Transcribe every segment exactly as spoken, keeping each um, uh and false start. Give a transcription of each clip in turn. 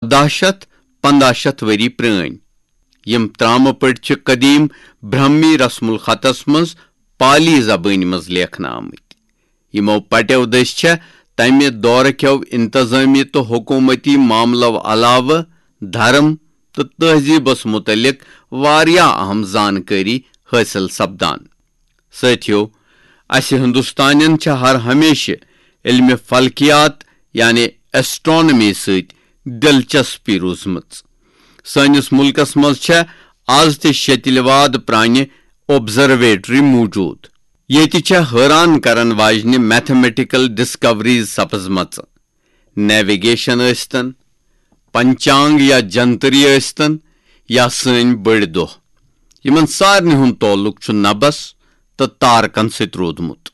دَہ شیٚتھ پنٛداہ شیٚتھ ؤری پرٲنۍ۔ یِم ترامہٕ پٔٹۍ چھِ قدیم برہمی رسم الخطس منٛز پالی زبٲنۍ منٛز لیکھنہٕ آمٕتۍ۔ یِمو پٹیو دٔسۍ چھےٚ تمہِ دورٕ کیو انتظٲمی تہٕ حکومتی معاملو علاوٕ دھرم تہٕ تہذیبس متعلق واریاہ اہم زانکٲری حٲصِل سپدان۔ سٲتھیو، اسہِ ہندوستانین چھےٚ ہر ہمیشہٕ علمِ فلکیات یعنی ایسٹرانومی سۭتۍ دلچسپی روٗزمٕژ۔ سٲنِس مُلکس منٛز چھےٚ از تہِ شیٚتلہِ واد پرانہِ آبزرویٹری موجود۔ ییٚتہِ چھےٚ حٲران کرن واجنہِ میتھمیٹیکل ڈسکوریز سپزمژٕ۔ نیویگیشن ٲسۍتن، پنچانگ یا جنتری ٲسۍتن، یا سٲنۍ بٔڑۍ دۄہ، یِمن سارنٕے ہُنٛد تعلق چھُ نبس تہٕ تارکن سۭتۍ روٗدمُت۔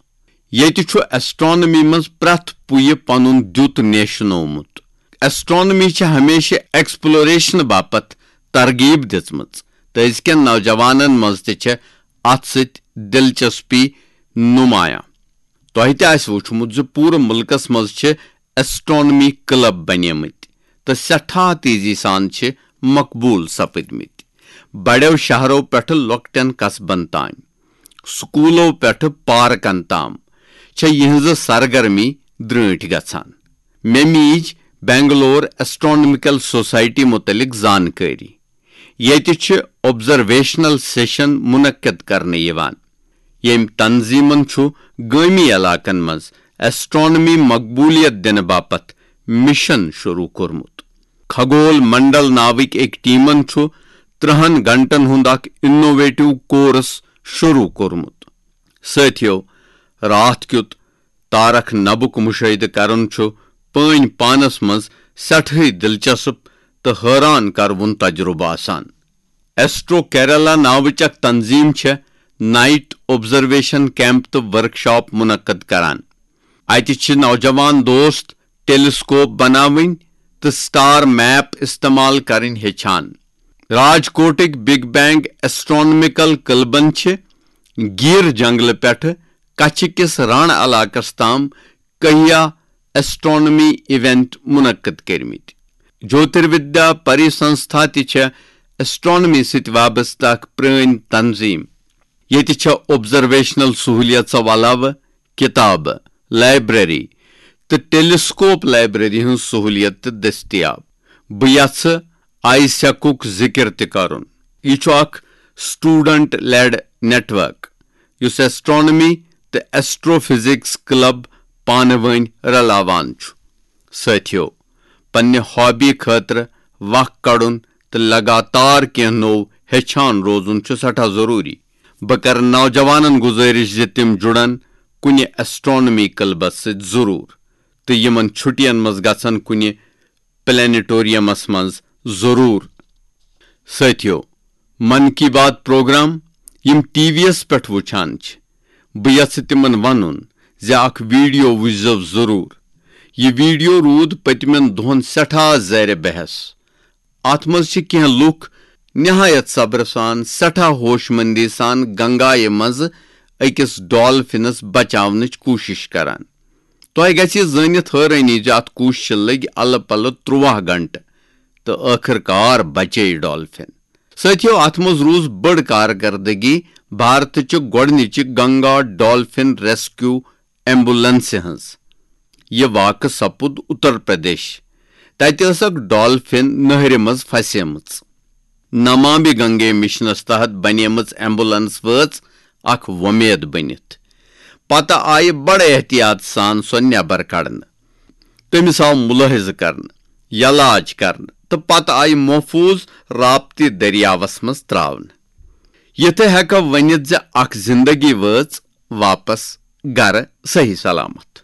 ییٚتہِ چھُ ایسٹرانومی منٛز پرٛٮ۪تھ پُیہِ پنُن دیُت نیشنومُت۔ ایسٹرانومی چھِ ہمیشہِ ایکسپلوریشن باپتھ ترغیب دِژمٕژ، تہٕ أزکٮ۪ن نوجوانن منٛز تہِ چھےٚ اتھ سۭتۍ دلچسپی نمایاں۔ تۄہہِ تہِ آسہِ وُچھمُت زِ پوٗرٕ مُلکس منٛز چھِ ایسٹرانومی کلب بنیمٕتۍ تہٕ سٮ۪ٹھاہ تیزی سان چھِ مقبوٗل سپٕدمٕتۍ۔ بڑٮ۪و شہرو پٮ۪ٹھٕ لۄکٹٮ۪ن قصبن تام، سکوٗلو پٮ۪ٹھٕ پارکن تام چھےٚ یِہنٛزٕ سرگرمی درٛٲنٹھۍ گژھان۔ مےٚ میٖج بنگلور ایسٹرانومیکل سوسائٹی متعلق زانکٲری۔ ییٚتہِ چھِ آبزرویشنل سیشن منعقد کرنہٕ یِوان، ییٚمۍ تنظیمن چھُ گٲمی علاقن منٛز ایسٹرانومی مقبولیت دِنہٕ باپتھ مشن شروع کوٚرمُت۔ کھگول منڈل ناوٕکۍ أکۍ ٹیمن چھُ ترٕہن گھنٹن ہُنٛد اکھ انوویٹو کورس شروع کوٚرمُت۔ سٲتھیو، راتھ کیُت تارک نبُک مشاہدٕ کرُن چھُ پٲنۍ پانس منٛز سٮ۪ٹھٕے دلچسپ تہٕ حٲران کروُن تجربہٕ آسان۔ ایسٹرو کیرلا ناوٕچ اکھ تنظیم چھےٚ نائٹ آبزرویشن کیمپ تہٕ ورکشاپ منعقد کران۔ اتہِ چھِ نوجوان دوست ٹیلیسکوپ بناوٕنۍ تہٕ سٹار میپ استعمال کرٕنۍ ہیٚچھان۔ راجکوٹٕکۍ بگ بینگ ایسٹرانومیکل کلبن چھِ گیٖر جنگلہٕ پٮ۪ٹھٕ کچھِ کِس ران علاقس تام کہیا ایسٹرانومی ایونٹ منعقد کٔرمٕتۍ۔ جوتروِدیا پری سنستھا تہِ چھےٚ ایسٹرانومی سۭتۍ وابستہٕ اکھ پرٲنۍ تنظیم۔ ییٚتہِ چھےٚ آبزرویشنل سہولیژو علاوٕ کتابہٕ، لائبریری تہٕ ٹیلیسکوپ لائبریری ہٕنٛز سہولیت تہِ دٔستیاب۔ بہٕ یژھٕ آیسیکُک ذکر تہِ کرُن۔ یہِ چھُ اکھ سٹوڈنٹ لیڈ نیٹ ورک، یُس ایسٹرانومی تہٕ ایسٹرو فزکس کلب پانہٕ وٲنۍ رلاوان چھُ۔ سٲتھیو، پننہِ ہابی خٲطرٕ وق کڑُن تہٕ لگاتار کینٛہہ نوٚو ہیٚچھان روزُن چھُ سٮ۪ٹھاہ ضروٗری۔ بہٕ کرٕ نوجوانن گزٲرش زِ تِم جُڑن کُنہِ ایسٹرانومی کلبس سۭتۍ ضروٗر، تہٕ یِمن چھُٹین منٛز گژھن کُنہِ پلینیٹوریمس منٛز ضروٗر۔ سٲتھیو، من کی بات پروگرام یِم ٹی وی یس پٮ۪ٹھ وٕچھان چھِ، بہٕ یژھٕ تِمن ونُن زِ اکھ ویڈیو وٕچھزیو ضروٗر۔ یہِ ویڈیو روٗد پٔتمٮ۪ن دۄہن سٮ۪ٹھاہ زیر بحث۔ اتھ منٛز چھِ کینٛہہ لُکھ نہایت صبرٕ سان، سٮ۪ٹھاہ ہوش مندی سان گنگایہِ منٛز أکِس ڈالفنس بچاونٕچ کوٗشش کران۔ تۄہہِ گژھِ یہِ زٲنِتھ حٲرٲنی زِ اتھ کوٗششہِ لٔگۍ الہٕ پلہٕ ترٛواہ گھنٹہٕ تہٕ ٲخٕر کار بچے ڈالفن۔ سٲتھیو، اتھ منٛز روٗز بٔڑ کارکردگی بھارتٕچہِ گۄڈٕنِچہِ گنگا ڈالفن ریسکیو ایمبولنسہِ ہٕنٛز۔ یہِ واقعہٕ سپُد اتر پردیش۔ تتہِ ٲس اکھ ڈالفن نہرِ منٛز پھسیمٕژ۔ نمامی گنگے مشنس تحت بنیمٕژ ایمبولنس وٲژ اکھ وۄمید بٔنِتھ۔ پتہٕ آیہِ بڑٕ احتیاط سان سۄ نٮ۪بر کڑنہٕ۔ تٔمِس آو مُلٲحِظہٕ کرنہٕ، یلاج کرنہٕ تہٕ پتہٕ آیہِ محفوٗظ رابطی دٔریاوس منٛز ترٛاونہٕ۔ یِتھٕ ہٮ۪کو ؤنِتھ زِ اکھ زِندگی وٲژ واپس گرٕ صحیح سلامت۔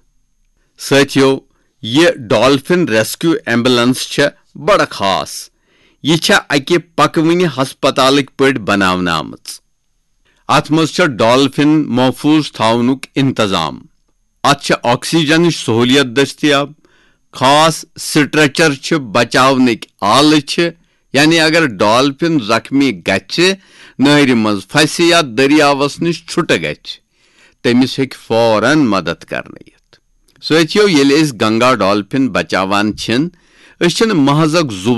سٲتھیو، یہِ ڈالفن ریسکیو ایمبولنس چھےٚ بڑٕ خاص۔ یہِ چھےٚ اکہِ پکوٕنہِ ہسپتالٕکۍ پٲٹھۍ بناونہٕ آمٕژ۔ اتھ منٛز چھےٚ ڈالفن محفوٗظ تھاونُک انتظام۔ اتھ چھےٚ آکسیجنٕچ سہولیت دٔستیاب۔ خاص سٹریچر چھِ، بچاونٕکۍ آلہٕ چھِ، یعنی اگر ڈالفن زخمی گژھِ، نہرِ منٛز پھسہِ یا دٔریاوس نِش چھُٹہٕ گژھِ، تٔمِس ہیٚکہِ فوراً مدد کرنہٕ یِتھ۔ سٲتھیو، ییٚلہِ أسۍ گنگا ڈالفن بچاوان چھِن، أسۍ چھِنہٕ محض اکھ زُو